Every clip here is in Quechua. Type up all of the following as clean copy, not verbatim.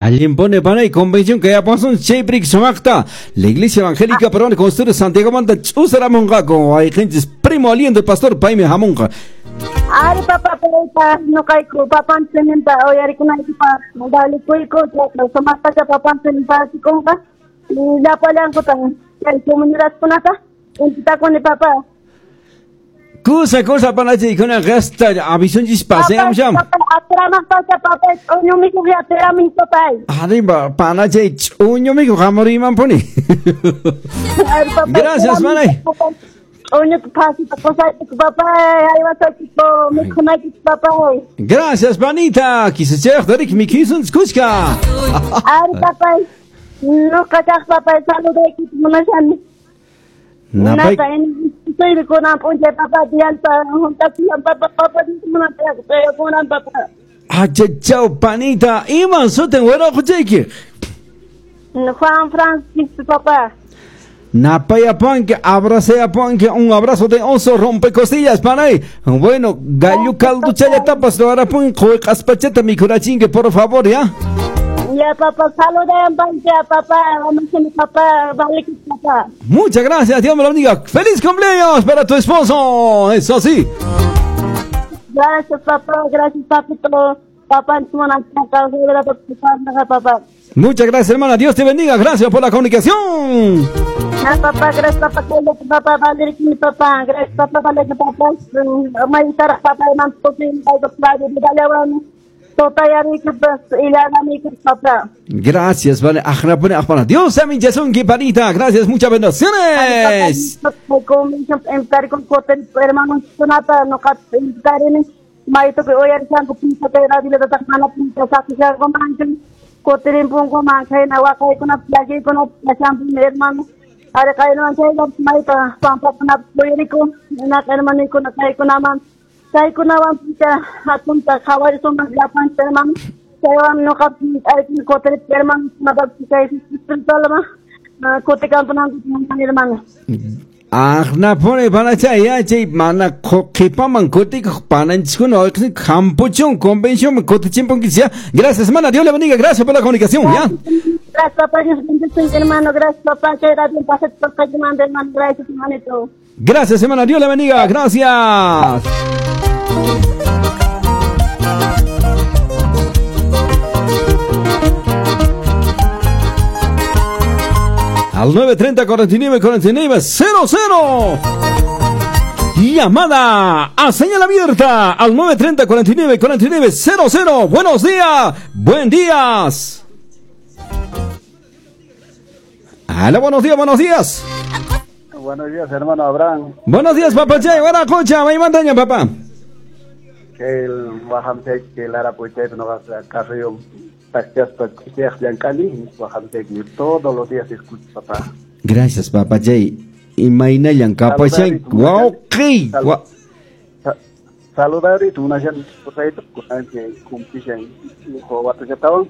Alguien pone panay convención que ya pasó chayprik sumaqta. La Iglesia Evangélica Peruana Construye Santiago manta ch'usaramunqaku wayqinchis primo aliento pastor paymi hamunqa. Ari papa paypa ñuqayku papanchikninta uyarikunaykipaq dalikuyku chayqa sumaqtacha papanchikninpa asikunqa llapallankutan chay comunidadkunata intitakuni papa. Kusa kusa panachiykuna hasta avisunchis paseamusham. Atramaq pasa papay ch'uñu mikhuq atiramin papay. Arriba panachay ch'uñu mikhuq hamurimanpuni. Gracias panay. Ch'uñuta phasita qusaykiku papay haywasaykiku mikhunaykiku papay. Gracias panita kisachayaq tarik mikhusun kushka. Ari papay ñuqa kaq papay saludaykita munashani. Napay Soy kunan p'unchay papa diyalta juntakuyan papa papa kunan papa. Achachaw panita iman sutin wiraquchayki. Juan Francisco papá. Napayapanque, abraceapanque, un abrazo de oso rompe costillas, panay. Bueno, gallo caldo chayatapas, lo harapun, qoyqaspachata mikhurachinque, por favor, ¿ya? Ya, papá, saludan, papá, papá, vale, papá. Muchas gracias, Dios me lo bendiga. ¡Feliz cumpleaños para tu esposo! Eso sí. Gracias, papá, gracias, papito. Papá, papá. Muchas gracias, hermana. Dios te bendiga. Gracias por la comunicación. Papá, gracias, papá, papá, vale, papá, gracias, papá, vale, papá. Gracias, vale. Dios amin panita. Gracias, muchas bendiciones. Chaykunawan picha hatunta qhawarisunman llapanchik hermano. Chaywan ñuqapi kutiripti hermano chay espiritualman kutikampunanku hermano. Aqnapuni panachay yachay mana qhipaman kutikuq pananchiskuna hampuchun convención kutichinpunkichis ya. Gracias hermana, Dios le bendiga, gracias por la comunicación, ya. Gracias papá, Dios bendice hermano, gracias papá, que radio pase por hermano, gracias hermanito. Gracias hermana, Dios le bendiga, gracias. Al 930 49 49 00. Llamada a señal abierta al 930 49 49 00. Buenos días, buen días. Hola, buenos días, buenos días. Buenos días, hermano Abraham. Buenos días, papá Chay. Buena cocha, me mandaña, papá. Que el Wajamsek, que el Arapuchay, no vas a Carrillo, todos los días escucho, papá. Gracias, papá Jay. Imaynallan kapashan. Wawqi. Saludar y tunashan posayto kunanche cumplishan watuchatawan.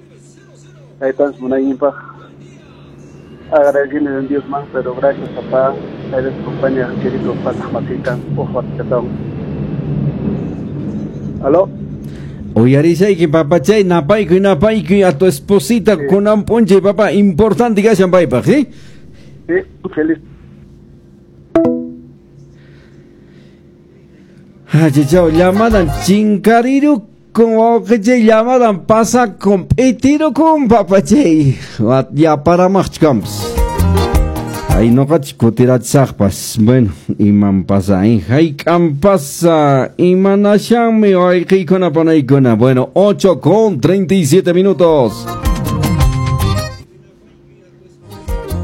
Taytans munayninpaq agradeciendo en Dios más, pero gracias papá. Eres compañía querido pasajmasita watuchatawan. Aló. Uyarisayki papachay, napaykuy napaykuy a tu esposita sí. Kunan p'unchay papá, importante kashan paypaq, ¿sí? Sí, feliz. Achichaw, llamadan chinkariru con wawqichay, llamadan pasa con p'itiru con papachay. Yaparamaqchkampas. Ay, noqachis kutirachisaqpas. Bueno, iman pasa, hayk'an pasa, imanashanmi wayqiykuna panaykuna. Bueno, 8:37.